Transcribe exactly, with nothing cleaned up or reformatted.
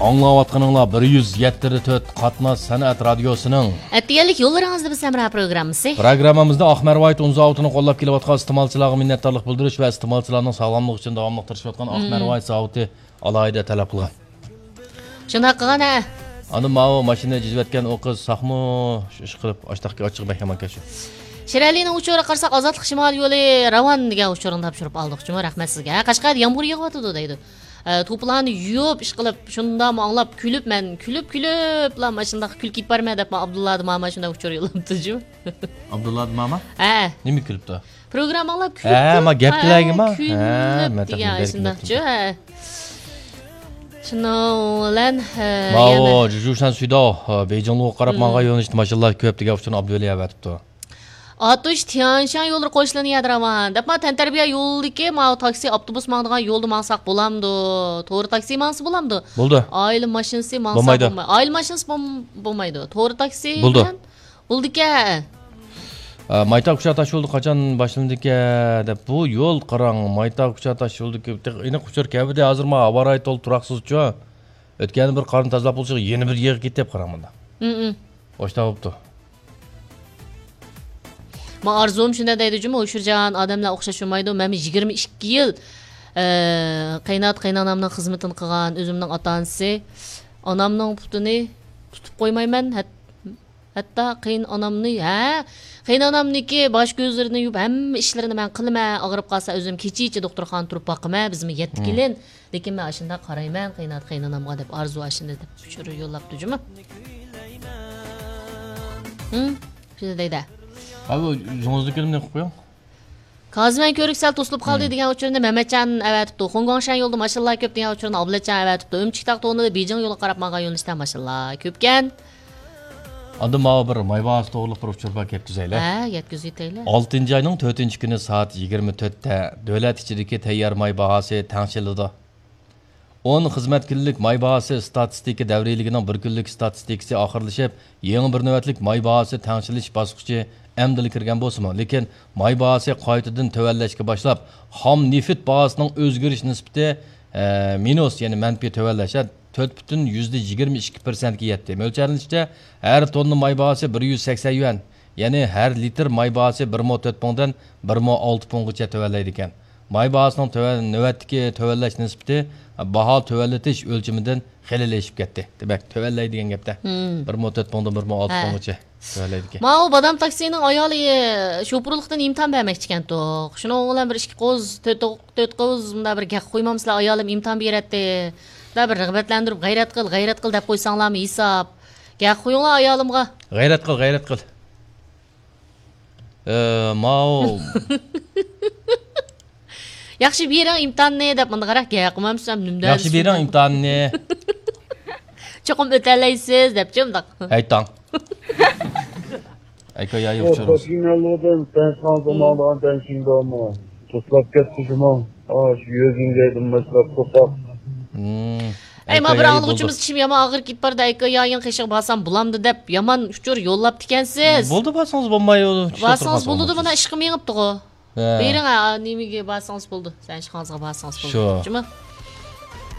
ئاڭلاۋاتقىنىڭلار بىر يۈز يەتتە تۆت قاتناش سەنئەت رادىيوسىنىڭ ئەتىگەنلىك يوللىرىڭىزدا بىز ھەمراھ پروگراممىسى. پروگراممىمىزدا ئاق مەرۋايىت ئۇن زاۋۇتىنى قوللاپ كېلىۋاتقان ئىستېمالچىلارغا مىننەتدارلىق بىلدۈرۈش ۋە ئىستېمالچىلارنىڭ ساغلاملىقى ئۈچۈن داۋاملىق تىرىشىۋاتقان ئاق مەرۋايىت زاۋۇتى ئالاھىدە تەلەپ قىلغان. شۇنداق قىلغان ھە. ئاندىن ماۋۇ ماشىنا جىزىۋەتكەن ئۇ قىز ساقمۇ شۇ ئىش قىلىپ ئاشتاقكى ئاچچىقى بەك يامانكەن شۇ. شىرئەلىنىڭ ئۇچۇرىغا قارىساق، ئازادلىق شىمالىي يولى راۋان دېگەن ئۇچۇرنى تاپشۇرۇپ ئالدۇق جۇمۇ، رەھمەت سىزگە. ھە، قەشقەردە يامغۇر يېغىۋاتىدۇ دەيدۇ. ئە، توپىلارنى يۇيۇپ، ئىشقىلىپ، شۇنداقمۇ ئاڭلاپ، كۈلۈپ، مەن كۈلۈپ، كۈلۈپلا مانا شۇنداق كۈلكە ئېلىپ بارىمەن دەپ، مانا ئابدۇللا ماما شۇنداق ئۇچۇر يوللاپتۇ جۇمۇ. ئابدۇللا ماما؟ ھە. نېمە كۈلۈپتۇ؟ پروگرامما ئاڭلاپ كۈلۈپ ھە، كۈلۈپ، ما گەپ ھە، تىلەيگىما؟ كۈلۈپ ھە، مەن دېگەن تېخى شۇنداقچۇ، ھە. شۇنىڭ بىلەن، ھە، ماۋۇ يەنە جۇجۇشەن سۈيداۋ، ھە، بېيجىڭلىغا قاراپ مم. ماڭغان يۆنىلىشتە ماشىنىلار كۆپ دېگەن ئۇچۇرنى ئابدۇۋەلى ئەۋەتىپتۇ. ئاتۇش تيەنشان يوللىرى قوشۇلىنى يەدە راۋان. دەپ، ما تەنتەربىيە يولىدىكى ماۋۇ تاكسى، ئاپتوبۇس ماڭىدىغان يولدا ماڭساق بولامدۇ؟ توغرا تاكسى ماڭسا بولامدۇ؟ بولىدۇ. ئائىلە ماشىنىسى ماڭسا بولمايدۇ. بولماي-، ئائىلە ماشىنىسى بولم-، بولمايدۇ. توغرا تاكسى بولىدۇ. بىلەن بولىدىكەن. ئە، مايتاغ كۇچا تاش يولى قاچان باشلىنىدىكەن دەپ، بۇ يول قاراڭ، مايتاغ كۇچا تاش يولىدىكى تېخى ئېنىق ئۇچۇر كەلمىدى. ھازىر ما ھاۋا رايى تولا تۇراقسىزچۇ. ئۆتكەندە بىر قارنى تازىلاپ بولسا، يەنە بىر يېغىپ كېتىپ قاراڭ مۇندا. ھم، ھم. ئاشۇنداق بوپتۇ. ما ئارزۇم شۇنداق دەيدۇ جۇمۇ، ئۇشۇرجان ئادەملەر ئوخشاش بولمايدۇ. مەنمۇ يىگىرمە ئىككى يىل، ئە، قېينات قېينانامنىڭ خىزمىتىنى قىلغان، ئۆزۈمنىڭ ئاتا ئانىسى، ئانامنىڭ پۇتىنى تۇتۇپ قويمايمەن. ھەت-، ھەتتا قېيىنئانامنى، ھە، قېيىنئانامنىڭكى باش كۆزلىرىنى يۇيۇپ، ھەممە ئىشلىرىنى مەن قىلىمەن. ئاغرىپ قالسا، ئۆزۈم كېچىچە دوختۇرخانىدا تۇرۇپ باقىمەن. بىزمۇ يەتتە مم. كېلىن. لېكىن مەن ئاشۇنداق قارايمەن، قېيىنئاتا، قېيىنئانامغا دەپ ئارزۇ ئاشۇنداق دەپ ئۇچۇر يوللاپتۇ جۇمۇ. ھىم، شۇنداق دەيدۇ. ھە، بۇ يۇڭۇزنىڭكىنى قىلىپ قويۇڭ. كازىمەن كۆۋرۈك سەل توسۇلۇپ قالدى ھىم. دېگەن ئۇچۇرنى مەمەتجان ئەۋەتىپتۇ. خۇڭگاڭشەن يولىدا ماشىنىلار كۆپ دېگەن ئۇچۇرنى ئابلەتجان ئەۋەتىپتۇ. ئۆمۈچۈك تاغ تونىدا بېيجىڭ يولىغا قاراپ ماڭغان يۆنىلىشتە ماشىنىلار كۆپكەن. ئاندىن ماۋۇ بىر ماي باھاسى توغرۇلۇق بىر ئۇچۇر بار، يەتكۈزەيلى. ھە، يەتكۈزۈۋېتەيلى. ئالتىنچى ئاينىڭ تۆتىنچى كۈنى سائەت يىگىرمە تۆتتە دۆلەت ئىچىدىكى تەييار ماي باھاسى تەڭشىلىدۇ. ئون خىزمەت كۈنلۈك ماي باھاسى ئىستاتىستىكا دەۋرىيلىكىنىڭ بىر كۈنلۈك ئىستاتىستىكىسى ئاخىرلىشىپ، يېڭى بىر نۆۋەتلىك ماي باھاسى تەڭشىلىش باسقۇچى ئەمدىلا كىرگەن بولسىمۇ، لېكىن ماي باھاسى قايتىدىن تۆۋەنلەشكە باشلاپ، خام نېفىت باھاسىنىڭ ئۆزگىرىش نىسبىتى، ئە، مىنۇس، يەنى مەنپىي تۆۋەنلەش، تۆت پۈتۈن يۈزدە يىگىرمە ئىككى پىرسەنتكە يەتتى. مۆلچەرلىنىشىچە، ھەر توننا ماي باھاسى بىر يۈز سەكسەن يۈەن، يەنى ھەر لىتىر ماي باھاسى بىر مو تۆت پۇڭدىن بىر مو ئالتە پۇڭغىچە تۆۋەنلەيدىكەن. ماي باھاسىنىڭ تۆۋەن، نۆۋەتتىكى تۆۋەنلەش نىسبىتى باھا تۆۋەنلىتىش ئۆلچىمىدىن خېلىلا ئېشىپ كەتتى. دېمەك، تۆۋەنلەي دېگەن گەپتە. مم. بىر مو تۆت پۇڭدىن بىر مو ئالتە ھە. پۇڭغىچە تۆۋەنلەيدىكەن. ماۋۇ بادام تاكسىنىڭ ئايالى شوپۇرلۇقتىن ئىمتىھان بەرمەكچىكەنتۇ. شۇنىڭ بىلەن بىر ئىككى قوز، تۆت، تۆت قوز مۇنداق بىر گەپ قويمامسىلەر، ئايالىم ئىمتىھان بېرەتتى. مۇنداق بىر رىغبەتلەندۈرۈپ، غەيرەت قىل، غەيرەت قىل دەپ قويساڭلارمۇ ھېساب. گەپ قويۇڭلار ئايالىمغا. غەيرەت قىل، غەيرەت قىل. ئە، ماۋۇ. ياخشى بېرىڭ ئىمتىھاننى دەپ مۇنداق قاراپ گەپ قىلمامسىز، نېمە ياخشى دەرسىز بېرىڭ بۇ؟ ئىمتىھاننى. چوقۇم ئۆتەلەيسىز دەپچۇ مۇنداق. ھەيتاڭ. ئەيكا يايى بۇ ئۇچۇرۇڭىز. خوتۇنلۇدىن تەنسىڭىزغا ماڭىدىغان تەنسىڭدامۇ؟ توسلاپ كەتتى شۇمۇ. ئاشۇ يۆگىڭگەيدىن باشلاپ توساپ. مم. ئەي، ما ئەيكا بىر يايى ئاڭلىغۇچىمىز بولدى. چىشىم يامان ئاغرىپ كېتىپ بارىدۇ، ئەيكا يايىڭ قېشىغا بارسام بولامدۇ دەپ يامان ئۇچۇر يوللاپتىكەنسىز. بولدى، بارسىڭىز بولمايدۇ. بارسىڭىز بولىدۇ، مانا ئىشقا مېڭىپتىغۇ. ھە. بېرىڭ، ھە، نېمىگە بارسىڭىز بولدى. سەن ئىشخانىڭىزغا بارسىڭىز بولدى. شۇ. جۇمۇ.